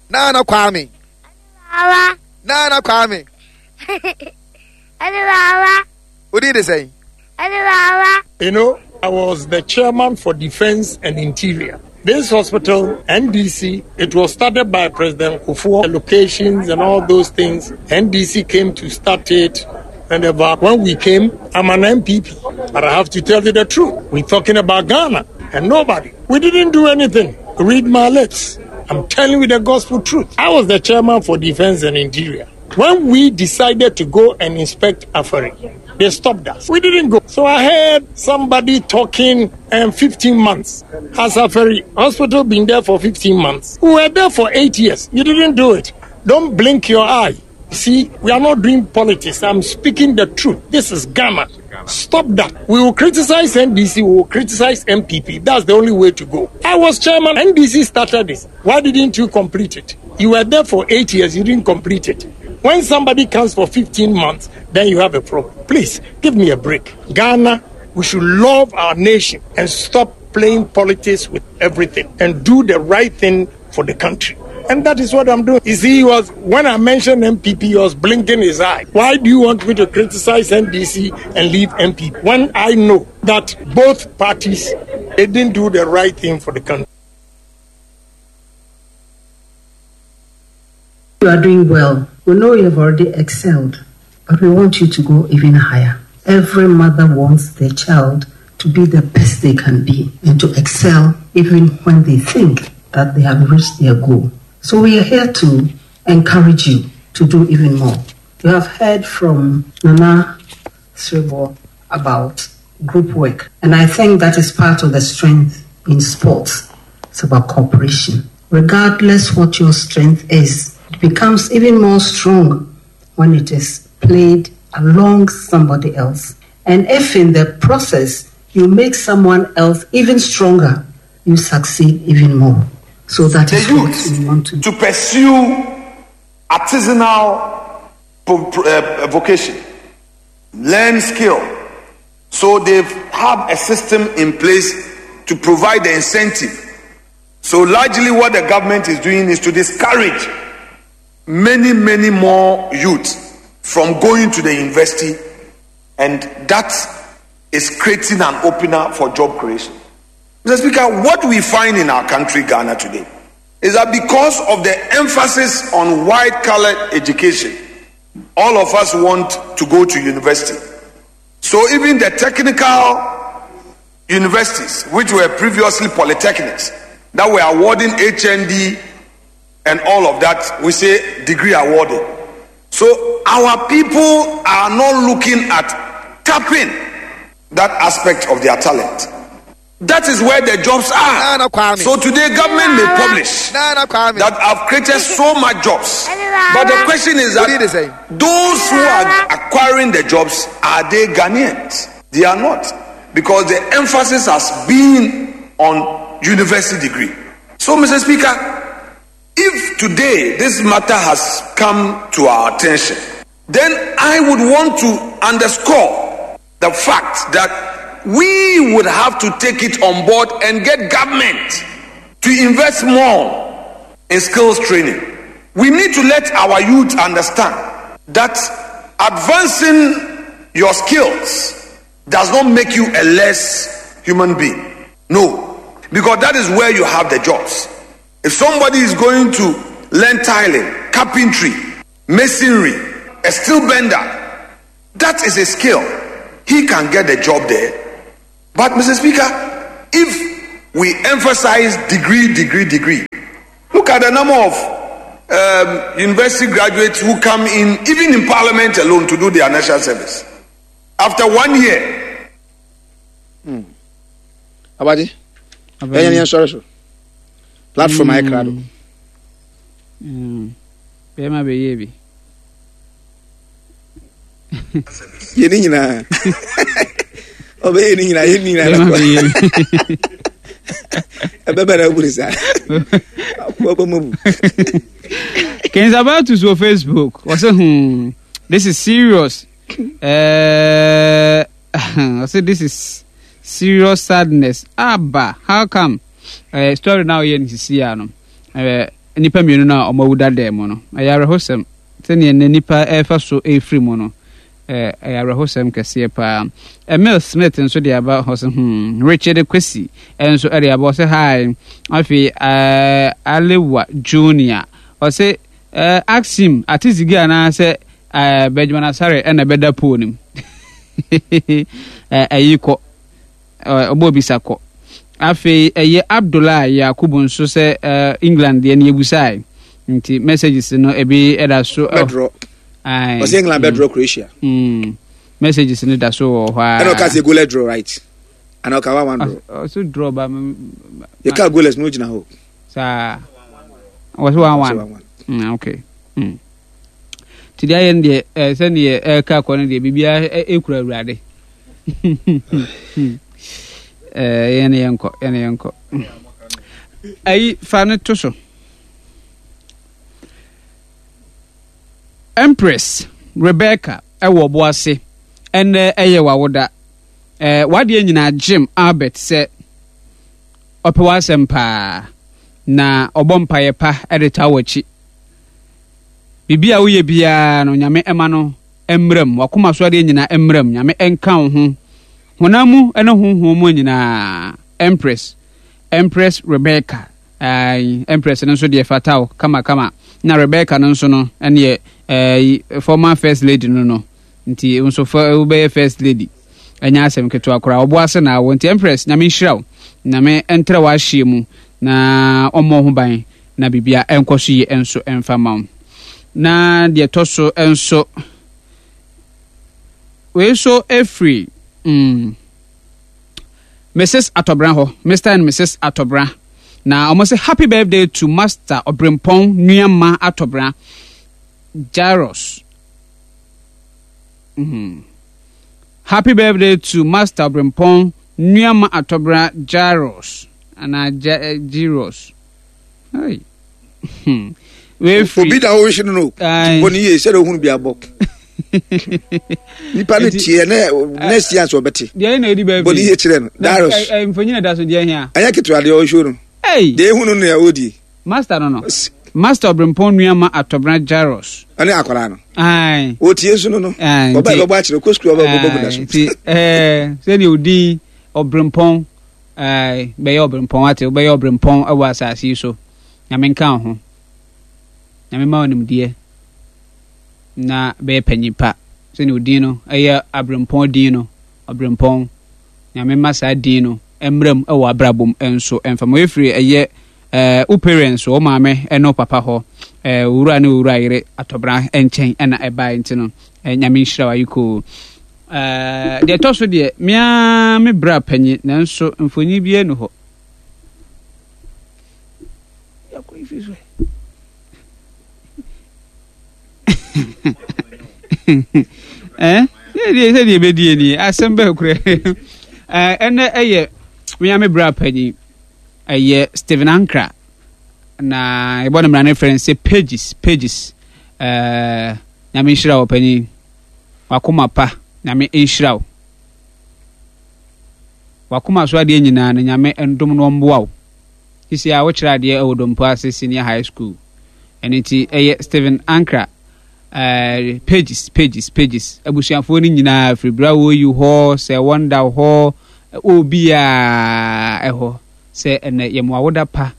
Nana Kwame. Baba. Nana Kwame. Ɛne baba. Wodi de sɛn? Ɛne baba. You know, I was the chairman for defense and interior. This hospital, NDC, it was started by President Kufuor, locations and all those things. NDC came to start it. And about when we came, I'm an MPP. But I have to tell you the truth. We're talking about Ghana and nobody. We didn't do anything. Read my lips. I'm telling you the gospel truth. I was the chairman for defense and interior. When we decided to go and inspect Afari, they stopped us. We didn't go. So I heard somebody talking and 15 months. Has Afari hospital been there for 15 months? We were there for eight years. You didn't do it. Don't blink your eye. See, we are not doing politics. I'm speaking the truth. This is Ghana. Stop that. We will criticize NDC, we will criticize MPP. That's the only way to go. I was chairman. NDC started this. Why didn't you complete it? You were there for eight years, you didn't complete it. When somebody comes for 15 months, then you have a problem. Please give me a break. Ghana, we should love our nation and stop playing politics with everything and do the right thing for the country. And that is what I'm doing. You see, he was when I mentioned MPP, he was blinking his eye. Why do you want me to criticize NDC and leave MPP? When I know that both parties they didn't do the right thing for the country. You are doing well. We know you have already excelled, but we want you to go even higher. Every mother wants their child to be the best they can be and to excel even when they think that they have reached their goal. So we are here to encourage you to do even more. You have heard from Nana Srebo about group work, and I think that is part of the strength in sports. It's about cooperation. Regardless what your strength is, it becomes even more strong when it is played along somebody else. And if in the process you make someone else even stronger, you succeed even more. So that the is what youth we want to to pursue artisanal uh, vocation, learn skill. So they've have a system in place to provide the incentive. So largely what the government is doing is to discourage many, many more youth from going to the university, and that is creating an opener for job creation. Mr. Speaker, what we find in our country, Ghana, today, is that because of the emphasis on white collar education, all of us want to go to university. So even the technical universities, which were previously polytechnics, that were awarding HND and all of that, we say degree awarded. So our people are not looking at tapping that aspect of their talent. That is where the jobs are. So today, government may publish that I've created so much jobs. But the question is that those who are acquiring the jobs, are they Ghanaians? They are not. Because the emphasis has been on university degree. So, Mr. Speaker, if today this matter has come to our attention, then I would want to underscore the fact that we would have to take it on board and get government to invest more in skills training. We need to let our youth understand that advancing your skills does not make you a less human being. No, because that is where you have the jobs. If somebody is going to learn tiling, carpentry, masonry, a steel bender, that is a skill. He can get the job there. But, Mr. Speaker, if we emphasize degree, degree, degree, look at the number of um, university graduates who come in, even in parliament alone, to do their national service. After one year. Mm. Abadi, ɛyɛ ni ɛsɔre so. Platform ayɛ krado. Bɛrima bɛyɛ bi. Yɛ ne nyinaa. Ɔbɛyɛ ne nyinaa yɛ ne nyinaa na kɔ. Ɛbɛbɛ na aburi saa. Akɔ bɛ mu bu. Kenzabatus wɔ Facebook. Wɔsɛ hmm this is serious. Ɔsɛ this is serious sadness. Aba how come? Uh, story now yɛ ne sisi ya no. Uh, nnipa mmienu no a wɔawu dada mu no, ɛyɛ awerɛhosɛm sɛdeɛ nnɛ nnipa ɛrefa so ɛrefiri mu no, ɛyɛ awerɛhosɛm kɛseɛ paa. Emil Smith nso de aba hɔ sɛ hmm, Richard Kwesi nso de aba hɔ sɛ hi. Afei eh, Alewa Junior ɔse eh, ask him Atizigi anaasɛ eh, Benjamin Asare ɛna ɛbɛda pool no mu. Ɛyi kɔ. Ɔbɔ bisa kɔ. Afei ɛyɛ Abdullah Yakubu nso sɛ England deɛ no yɛbusae. Nti messages no ebi ɛda so. Bɛdrɔ. Ɔsɛ England bɛdrɔ Croatia. Messages no da so wɔ hɔ a. Ɛna ɔka sɛ goalless draw right. Ana ɔka 1-1 draw. Ɔsɛ draw ba. Yɛka goalless no gyina hɔ. Saa. Ɔsɛ 1-1. Okay. Nti deɛ ayɛ no deɛ sɛdeɛ ɛreka akɔ no deɛ biribiara ɛkura awurade. Yɛne yɛnkɔ yɛne yɛnkɔ. Ayi fa no to so. Empress Rebecca ɛwɔ ɔbo ase ɛnɛ ɛyɛ wawoda. Wadeɛ nyinaa Jim Albert sɛ ɔpɛ w'asɛm paa na ɔbɔ mpaeɛ pa de taa w'akyi. Biribi a woyɛ biara no, Nyame ɛma no mmra mu. W'akoma so adeɛ nyinaa mmra mu. Nyame ɛnka wo ho. Honam mu ne honhom mu nyinaa. Empress, Empress Rebecca. Ayi, Empress no nso deɛ fata wo kama kama. Na Rebecca no nso no, ɛneɛ, ɛɛ, former first lady no no. Nti wo nso fa wobɛyɛ first lady. Ɛnyɛ asɛm ketewa koraa. Ɔbo ase na awo. Nti Empress, Nyame nhyira wo. Nyame ɛntrɛ w'ahyeɛ mu na ɔmmɔ ho ban na biribia ɛnkɔ so yie nso ɛmfa ma wo. Na deɛ ɛtɔ so nso, wei nso ɛfiri mm, Mrs. Atɔbra hɔ, Mr. and Mrs. Atɔbra. Na wɔn sɛ happy birthday to Master Ɔbrempɔn Nuamma Atɔbra Jairus. Mm. Happy birthday to Master Ɔbrempɔn Nuamma Atɔbra Jairus. Anaa Jairus. Hey. Hmm. Obi da wo hwe no no. Bɔ ne yie sɛdeɛ ohunu bi abɔ. Nipa no tie ne next year nso ɔbɛte. Deɛ na edi baabi. Bɔ ne yie kyerɛ no. Darius. Mfonyin da so deɛ hia. Ɛnyɛ ketewa deɛ ɔhwɛ no. Deɛ ehunu no na ɔdi. Master no no. Master Ɔbrempɔn Nuama Atɔbena Jairus. Ɔne akwadaa no. Ayi. Otie nso no no. Ayi. Ɔbɛ ɛbɛbɔ akyerɛ kɔ sukuu ɔbɛ bɔbɔ gu na so. Nti ɛɛ sɛdeɛ odin Ɔbrempɔn ɛɛ bɛyɛ ɔbrempɔn ate wobɛyɛ ɔbrempɔn ɛwɔ asase yi so. Nyame nka wo ho. Nyame ma wo nimdeɛ na bɛyɛ panyin pa. Sɛdeɛ odin no ɛyɛ abrempɔn din no ɔbrempɔn. Nyame ma saa din no mmra mu wɔ abrabɔ mu nso mfa ma efiri ɛyɛ ɛɛ wo parents wo maame ɛne wo papa hɔ ɛɛ owura ne owura yere atɔbra nkyɛn ɛna ɛbae nti no ɛɛ Nyame nhyira wo ayikoo ɛɛ deɛ ɛtɔ so deɛ mea me bra panyin nanso mfonyin bi ɛnu hɔ. Eh? Sɛdeɛ sɛdeɛ ɛbɛdie nie asɛm bɛɛ korɛ ɛnɛ ɛyɛ mea me bra panyin ɛyɛ Stephen Ankra na yɛbɔ no mmara no frɛ no sɛ pages pages ɛɛ nyame nhyira wo panyin wakoma pa nyame nhyira wo wakoma so adeɛ nyinaa no nyame ndom no ɔmboa wo Sisi a wokyerɛ adeɛ wɔ Dompo ase Senior High School. Ɛno nti ɛyɛ Stephen Ankra eh, pages pages pages abusuafoɔ no nyinaa firi berɛ a wɔyi hɔ sɛ wɔnda hɔ obiara ɛhɔ sɛ ɛnɛ yɛ mo awoda pa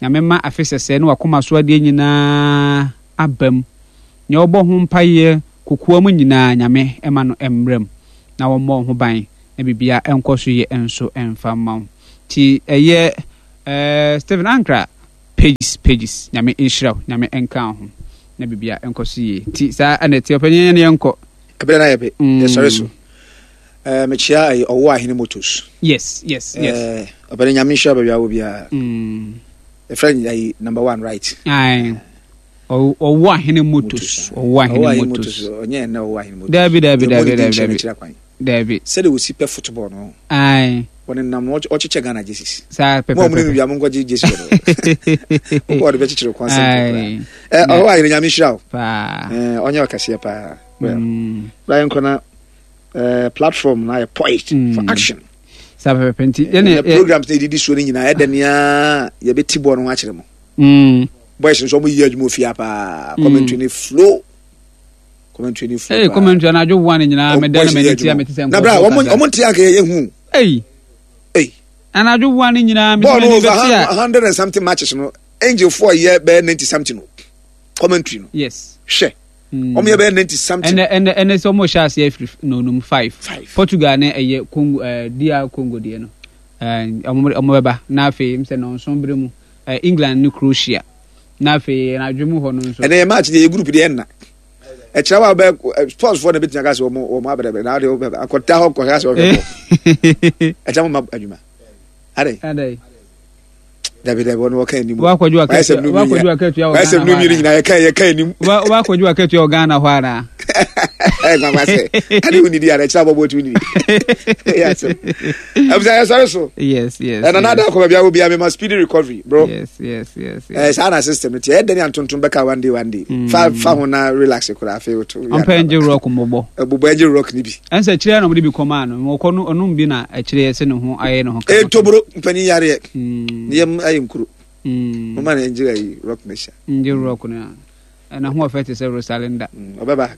Nyame ma afe sɛsɛɛ ne wakoma so adeɛ nyinaa aba mu nea ɔbɔ ho mpaeɛ kokoa mu nyinaa Nyame ɛma no mmra mu na wɔmmɔ ho ban na biribiara ɛnkɔ so yie nso ɛmfa mma wo. Nti ɛyɛ eh, Stephen Ankra pages pages Nyame nhyira wo, Nyame nka wo ho na biribiara ɛnkɔ so yie. Nti saa ɛna ɛte ɔpanyin yɛn yɛnkɔ. Ɛberɛ no ayɛ pe, yɛsɔre so. Eh, mekyia ɛyɛ ɔwɔ ahene motos. Yes, yes, yes. Eh, ɔpɛni Nyame nhyira baabi a wɔ biara. Ɛfrɛ no ayi number one right. Aye. Ɔwɔ ahene motos. Ɔwɔ ahene motos. Ɔnyɛ ɛnɛ ɔwɔ ahene motos. Dabi dabi dabi dabi dabi. Dabi. Sɛdeɛ wɔsi pɛ football no. Aye. Wɔne nam no ɔkyekyɛ Ghana jerseys. Saa pɛpɛpɛ. Mo a mo ne no wia mo nkɔgye jersey wɔ no. Wokɔ ɔde bɛkyekyere kwan sɛ nkɔkora. Ɛ ɔwɔ ahene Nyame nhyira wo. Paa. Ɛ ɔnyɛ ɔkɛseɛ paa. Well. Bra yɛnkɔ na eh, platform na yɛ poised mm. for action. Saa pɛpɛpɛ nti. Yɛne programs na edidi soɔ no nyinaa ɛdɛ nea yɛbɛti bɔɔl no ho akyerɛ mo. Mm. Boys nso ɔmo yɛ adwuma ofia paa. Commentary ne flow. Commentary ne flow. Ee commentary anadwo one nyinaa mɛ dɛ na mɛ ne tia mɛ ti sɛ nkɔfo kasa. Na bra ɔmo ɔmo nti anka yɛ hu. Ee. Ee. Anadwo one nyinaa mɛ ti mɛ ni bɛ tia. Bɔɔl over 100 and something matches no angel four yɛ bɛyɛ 90 something o commentary no. Yes. Hwɛ. Ɔmo yɛ bɛyɛ 90 something. Ɛnɛ ɛnɛ ɛnɛ sɛ ɔmo hyɛ aseɛ afiri nonum 5. Portugal ne ɛyɛ Congo ɛɛ DR Congo deɛ no. Ɛɛ ɔmo ɔmo bɛba na afei sɛ nɔnson bere mu. Eh, England ne Croatia. Na afei anadwo mu hɔ no nso. Ɛnɛ yɛ match deɛ yɛ group deɛ ɛnna. Ɛkyerɛ wa bɛ eh, sports foɔ na ebetumi aka sɛ wɔn wɔn abɛrɛbɛrɛ na ɔde akɔda hɔ kɔhwɛ asɛ ɔhwɛ bɔ. Ɛkyɛ mo ma adwuma. Adɛ. Adɛ. Dabi dabi wɔn wɔka anim. Wakɔdwo akatua wakɔdwo akatua wɔ Ghana hɔ. Wɔayɛ sɛ numi nyinaa yɛka yɛka anim. Wakɔdwo akatua wɔ Ghana hɔ ara. Ɛ gbagba sɛ ade wo nidi ara ɛkyerɛ abɔbɔ tu nidi. Ɛyɛ asɛm. Ɛbisa yɛ sɔre so. Yes yes. Ɛna nada akɔ baabi awo bia mema speedy recovery bro. Yes yes yes. Ɛɛ saa na system no ti ɛyɛ dɛn antontom bɛka one day one day. Mm. Fa fa ho na relax koraa afei woto. Ɔmpɛ ngye rock mbɔbɔ. Ɛbobɔ ngye rock ni bi. Ɛnsɛ kyerɛ na ɔmo de bi kɔmaa no. Ɔkɔ no ɔnom bi na ɛkyerɛ yɛ sɛ ne ho ayɛ ne ho kama. Ɛtoboro mpanyin yareɛ. Mm. Ne yam ayɛ nkuro. Mm. Moma na ngye ayi rock ne hyɛ. Ngye rock no. Ɛna ho ɔfɛ te sɛ Rosalinda. Ɔbɛba.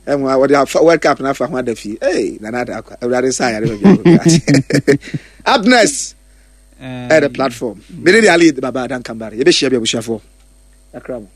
Ɛmu a wɔde afa World Cup n'afa ho ada fie. Ee nana ada akwa. Awurade nsa ayare baabi a wɔbɛ. Up next. Ɛyɛ the platform. Mene de Ali Baba Adan Kambari. Yɛbɛhyia bi abusuafoɔ. Akra mo.